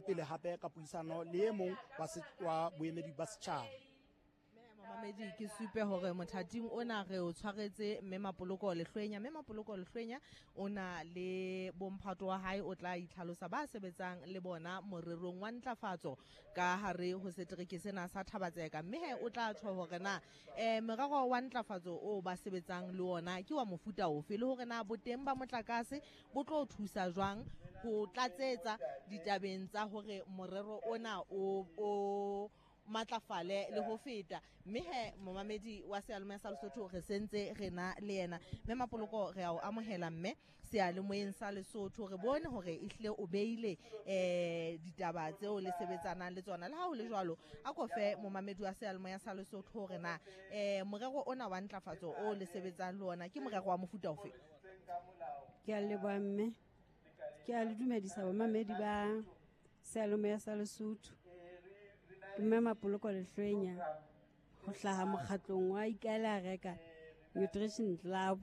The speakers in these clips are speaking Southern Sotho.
Pele hape ka puisano le e mong wa boemedi ba setjhaba. Momamedi, ke supe hore mothating ona re o tshwaretse Mme Mapoloko Lehlwenya. Mme Mapoloko Lehlwenya o na le bomphato wa hae, o tla itlhalosa ba sebetsang le bona morerong wa ntlafatso ka hare ho setereke sena sa Thabatseka. Mme he o tla tjho hore na merero wa ntlafatso o ba sebetsang le ona ke wa mofuta ofe, le hore na boteng ba motlakase bo tlo thusa jwang ho tlatsetsa ditabeng tsa hore morero ona o matlafale le ho feta. Mme he momamedi wa seyalemoya sa Lesotho re sentse re na le yena. Mme Mapoloko, re a o amohela mme seyalemoyeng sa Lesotho. Re bone hore ehlile o beile ditaba tseo le sebetsanang le tsona. Le ha ho le jwalo, a ko fe momamedi wa seyalemoya sa Lesotho hore na morero ona wa ntlafatso o le sebetsang le ona ke morero wa mofuta ofe? Ke a leboha mme, ke a le dumedisa bomamedi ba seyalemoya sa Lesotho. Ke Mme Mapoloko Lehlwenya ho hlaha mokgatlong wa Ikaela Reka Nutrition Club.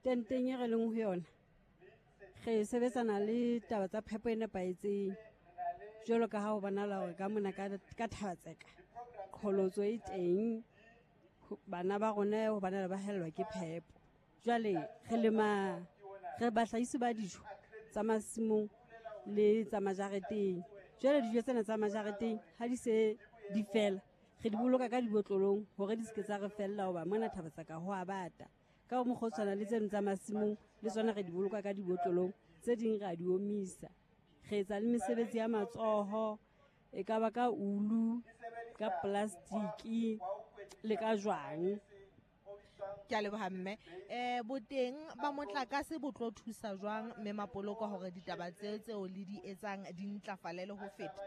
Tenteng e re leng ho yona re sebetsana le taba tsa phepo e nepahetseng, jwalo ka ha ho bonahala hore ka mona ka Thabatseka qholotso e teng, bana ba rona ho bana ba hellwa ke phepo. Jwale re lema, re bahlahisi ba dijo tsa masimong le tsa majareteng. Jwale dijo tsena tsa majareteng ha di se di fela, re di boloka ka dibotlolong hore di se ke tsa re fella, hoba mona Thabatseka ho a bata. Ka mokgwa o tshwana le tseno tsa masimong le tsona re di boloka ka dibotlolong, tse ding re a di omisa. Re etsa le mesebetsi ya matsoho, e ka ba ka ulu, ka plastiki le ka jwang. Ke a leboha mme. Boteng ba motlakase bo tlo thusa jwang Mme Mapoloko hore ditaba tseo le di etsang di ntlafale le ho feta?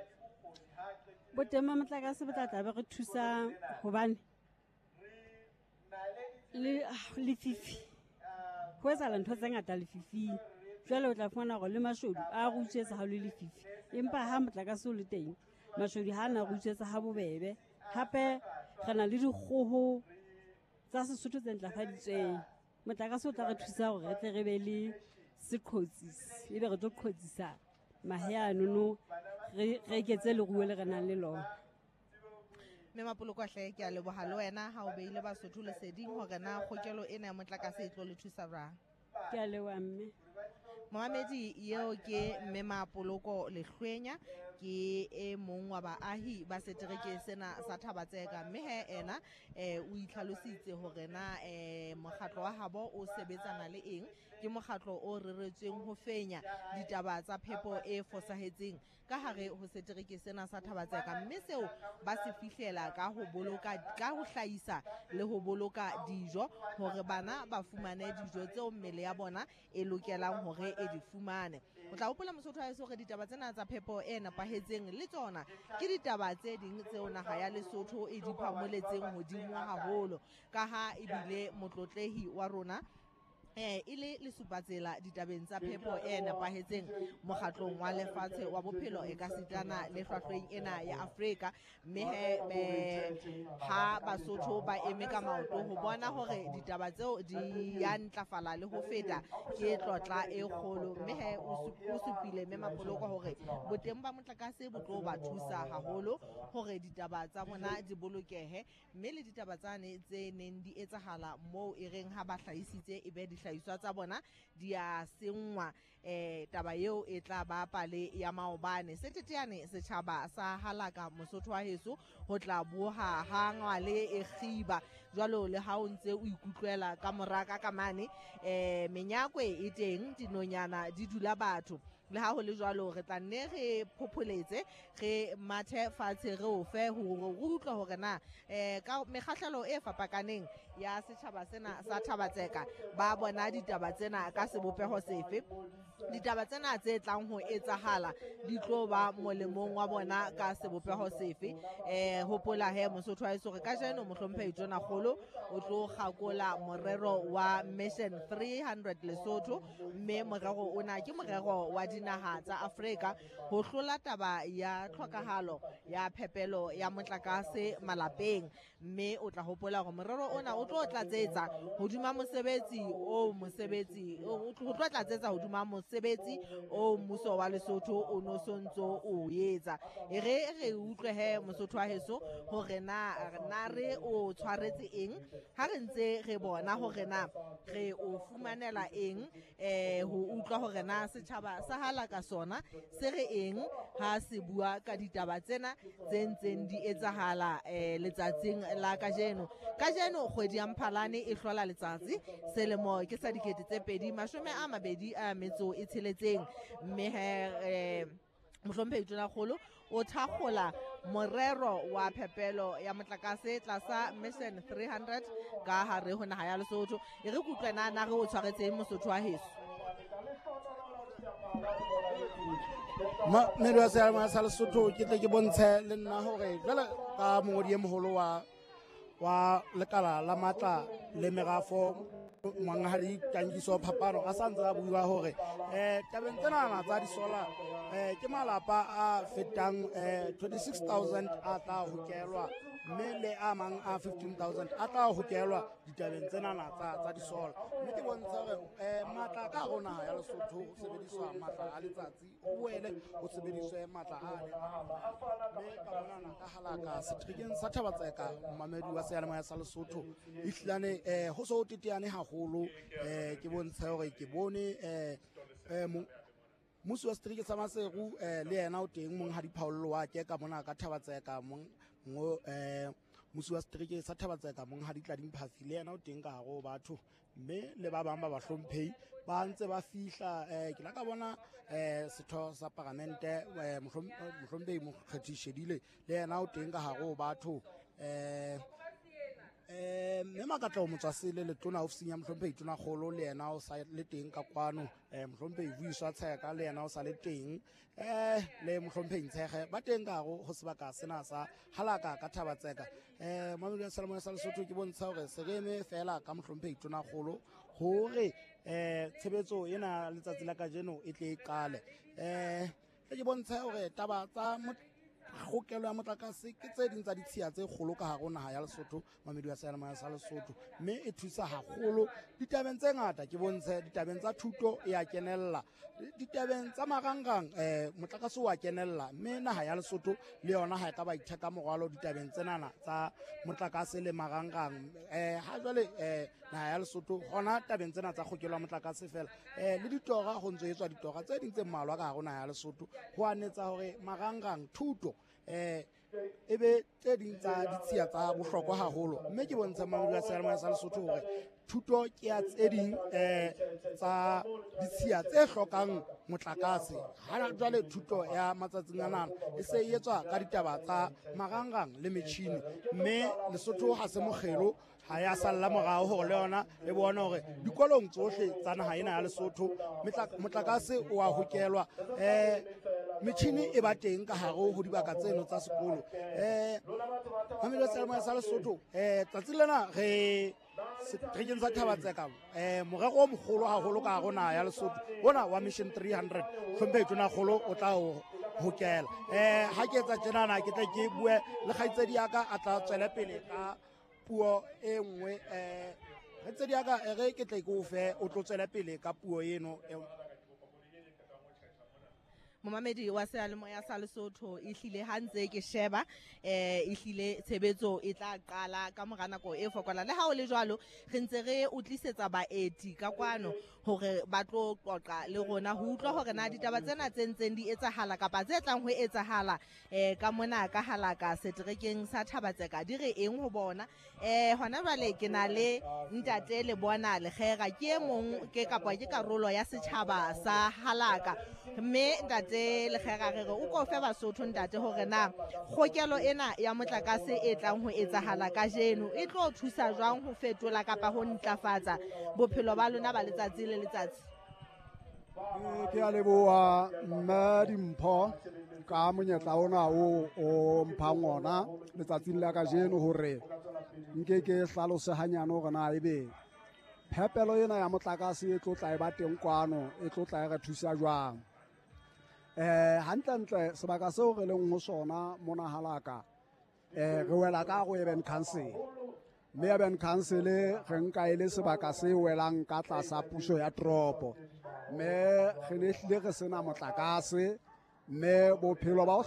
Boteng ba motlakase bo tla tla be re thusa hobane le lefifi, ho etsahala ntho tse ngata lefifing. Jwale o tla fumana hore le mashodu a re utswetsa ha o le lefifi, empa ha motlakase o le teng mashodu ha a na re utswetsa ha bobebe. Hape re na le dikgoho tsa Sesotho tse ntlafaditsweng. Motlakase o tla re thusa hore re tle re be le seqhotsisi, ebe re tlo qhotsisa mahe anono, re eketse leruo le re nang le lona. Mme Mapoloko hle, ke a leboha le wena ha o beile Basotho leseding hore na kgokelo ena ya motlakase e tlo le thusa jwang. Ke a leboha mme. Momamedi, eo ke Mme Mapoloko Lehlwenya, ke e mong wa baahi ba setereke sena sa Thabatseka. Mme he ena o itlhalositse hore na mokgatlo wa habo o sebetsana le eng. Ke mokgatlo o reretsweng ho fenya ditaba tsa phepo e fosahetseng ka hare ho setereke sena sa Thabatseka, mme seo ba se fihlela ka ho boloka, ka ho hlahisa le ho boloka dijo hore bana ba fumane dijo tseo mmele ya bona e lokelang hore e di fumane. O tla hopola Mosotho wa heso hore ditaba tsena tsa phepo e nepahetseng le tsona ke ditaba tse ding tseo naha ya Lesotho e di phamoletseng hodimo haholo, ka ha ebile motlotlehi wa rona e le lesupatsela ditabeng tsa phepo e nepahetseng mokgatlong wa lefatshe wa bophelo e ka sitana le hlwahlweng ena ya Afrika. Mme he ha Basotho ba eme ka maoto ho bona hore ditaba tseo di ya ntlafala le ho feta, ke tlotla e kgolo. Mme he o supile Mme Mapoloko hore boteng ba motlakase bo tlo ba thusa haholo hore ditaba tsa bona di bolokehe, mme le ditaba tsane tse neng di etsahala moo e reng ha ba hlahisitse e be dihlahiswa tsa bona di a senngwa, taba eo e tla ba pale ya maobane. Seteteane setjhaba sa halaka Mosotho wa heso ho tla boha ha ngwale e kgiba jwalo le ha o ntse o ikutlwela ka moraka ka mane, menyakwe e teng, dinonyana di dula batho. Le ha ho le jwalo, re tla nne re phopholetse, re mathe fatshe, re o fe hore re utlwe hore na ka mekgahlelo e fapakaneng ya setjhaba sena sa Thabatseka ba bona ditaba tsena ka sebopeho sefe. Ditaba tsena tse tlang ho etsahala di tlo ba molemong wa bona ka sebopeho sefe. Hopola he Mosotho wa heso hore kajeno mohlomphehi Tonakgolo o tlo kgakola morero wa Mission 300 Lesotho, mme morero ona ke morero wa dinaha tsa Afrika ho hlola taba ya tlhokahalo ya phepelo ya motlakase malapeng. Mme o tla hopola hore morero ona o tlo tlatsetsa hodima mosebetsi o mosebetsi o tlo tlatsetsa hodima mosebetsi o mmuso wa Lesotho o no sontso o etsa. E re utlwe he Mosotho wa heso hore na re o tshwaretse eng ha re ntse re bona hore na re o fumanela eng, ho utlwa hore na setjhaba sa Halaka sona se re eng ha se bua ka ditaba tsena tse ntseng di etsahala letsatsing la kajeno. Kajeno kgwedi ya Mphalane e hlola letsatsi, selemo ke sa 2026, mme he Mohlomphehi Tonakgolo o thakgola morero wa phepelo ya motlakase tlasa Mission 300 ka hare ho naha ya Lesotho. E re kutlwe na re o tshwaretseng Mosotho wa heso. Mmedi wa seyalemoya sa Lesotho, ke tle ke bontshe le nna hore jwale ka mongodi e moholo wa lekala la matla le merafo Monghadi Tankiso Phapano a sa ntse a bua hore tabeng tsena tsa disolar ke malapa a fetang 26,000 a tla hokelwa, mme le a mang a 15,000 a tla hokelwa ditabeng tsena tsa disolar. Mme ke bontsha hore matla ka hare naha ya Lesotho ho sebediswa matla a letsatsi, ho boele ho sebediswe matla a mme ka monana ka Halaka seterekeng sa Thaba-Tseka, momamedi wa seyalemoya sa Lesotho ehlilane ho so teteane haholo. Ke bontsha hore ke bone mmusi wa setereke sa Maseru le yena o teng, Monghadi Paul wa ke ka mona ka Thaba-Tseka, mmusi wa setereke sa Thaba-Tseka Monghadi Tlading Phafi le yena o teng ka hare ho batho, mme le ba bang ba bahlomphehi ba ntse ba fihla. Ke la ka bona setho sa paramente Mohlomphehi Mokgethi Shedile le yena o teng ka hare ho batho. Mme Makatleho Motswasele letona ofising ya Mohlomphehi Tonakgolo le yena o sa le teng ka kwano. Mohlomphehi Vuyiswa Tsheka le yena o sa le teng, le Mohlomphehi Ntshege ba teng ka hare ho sebaka sena sa Halaka ka Thaba-Tseka. Mamedi wa seyalemoya sa Lesotho, ke bontsha hore se re eme feela ka Mohlomphehi Tonakgolo hore tshebetso ena letsatsi la kajeno e tle e qale. Ke bontsha hore taba tsa kgokelo ya motlakase ke tse ding tsa ditshiya tse kgolo ka hare ho naha ya Lesotho, mamedi wa seyalemoya sa Lesotho, mme e thusa haholo ditabeng tse ngata. Ke bontshe ditabeng tsa thuto e a kenella, ditabeng tsa marangrang motlakase o a kenella, mme naha ya Lesotho le yona ha e ka ba itheka morwalo ditabeng tsenana tsa motlakase le marangrang. Ha jwale naha ya Lesotho hona tabeng tsena tsa kgokelo ya motlakase fela, le ditora ho ntso etswa ditora tse ding tse mmalwa ka hare ho naha ya Lesotho ho anetsa hore marangrang thuto e be tse ding tsa ditshiya tsa bohlokwa haholo. Mme ke bontsha mamedi wa seyalemoya sa Lesotho hore thuto ke ya tse ding tsa ditshiya tse hlokang motlakase. Ha jwale thuto ya matsatsing anana e se e etswa ka ditaba tsa marangrang le metjhini, mme Lesotho ha se mokgelo, ha ya salla morao hore le yona e bone hore dikolong tsohle tsa naha ena ya Lesotho motlakase o a hokelwa, metjhini e ba teng ka hare ho dibaka tseno tsa sekolo. Mamedi wa seyalemoya sa Lesotho, tsatsi lena re seterekeng sa Thaba-Tseka, morero o mogolo haholo ka hare ho naha ya Lesotho ona wa Mission 300, Hlomphehi Tonakgolo o tla o hokela. Ha ke etsa tjenana ke tle ke bue le kgaitsedi ya ka a tla tswele pele ka puo e nngwe. Kgaitsedi ya ka, re ke tle ke o fe o tlo tswele pele ka puo eno. Momamedi wa seyalemoya sa Lesotho, ehlile ha ntse ke sheba ehlile tshebetso e tla qala ka mora nako e fokolang. Le ha o le jwalo, re ntse re o tlisetsa baeti ka kwano hore ba tlo qoqa le rona ho utlwa hore na ditaba tsena tse ntseng di etsahala kapa tse tlang ho etsahala ka mona ka Halaka seterekeng sa Thaba-Tseka di re eng ho bona. Hona jwale ke na le ntate Lebona Lekgera, ke e mong ke kapa ke karolo ya setjhaba sa Halaka. Mme ntate Lekgera, re re o ko fe Basotho ntate hore na kgokelo ena ya motlakase e tlang ho etsahala kajeno e tlo thusa jwang ho fetola kapa ho ntlafatsa bophelo ba lona ba letsatsi le letsatsi. Ke a leboha mme Dimpho ka monyetla ona o mphang ona letsatsing la kajeno hore nke ke hlalose hanyane hore na ebe phepelo ena ya motlakase e tlo tla e ba teng kwano, e tlo tla e re thusa jwang. Hantlentle sebaka seo re leng ho sona mona halaka, re wela ka go Urban Council, mme Urban Council re nka e le sebaka se welang ka tlasa puso ya toropo, mme re ne hlile re sena motlakase, mme bophelo ba ho